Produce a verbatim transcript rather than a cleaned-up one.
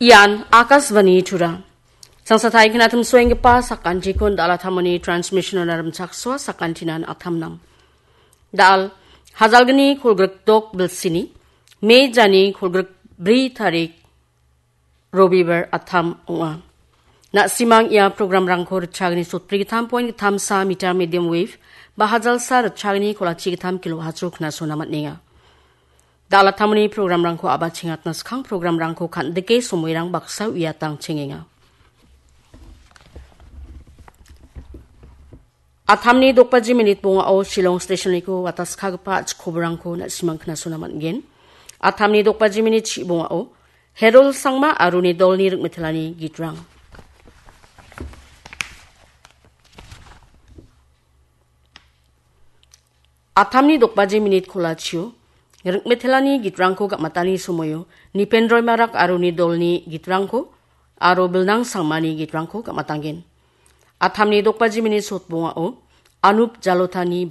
Ian Akashvani Tura. Sangsatai knatim suenggipa sakantikon dalatamoni transmission-ona rimchaksoa sakantinan atamnang. Dal, hajalgni kolgrikdok bilsini, Mei jani kolgrikbri tarik Robibar atam ong·a. Na·simang ia program-rangko ritchagni sotbri gittam point gittam sa meter medium wave, ba hajalsa ritchagni kolachi gittam kilo hacho knasona man·enga. Dalatamoni program-rangko abachengatna skang program-rangko kan·dike somoirang baksa uiatang chengenga. Atamni dokbaji minit bongao Shillong Station-niko wataskagipa a·chikobrangko na·simang knasona man·gen. Atamni dokbaji minit chi bongao Herol Sangma aro uni dolni ringmetelani gitrang. Atamni dokbaji minit kolachio ringmetelani gitrangko gam·atani somoio Nipen Roimarak aro uni dolni gitrangko aro Bilnang Sangmani gitrangko gam·atanggen. Atamni dokbaji minit sotbongao Anup Jalotani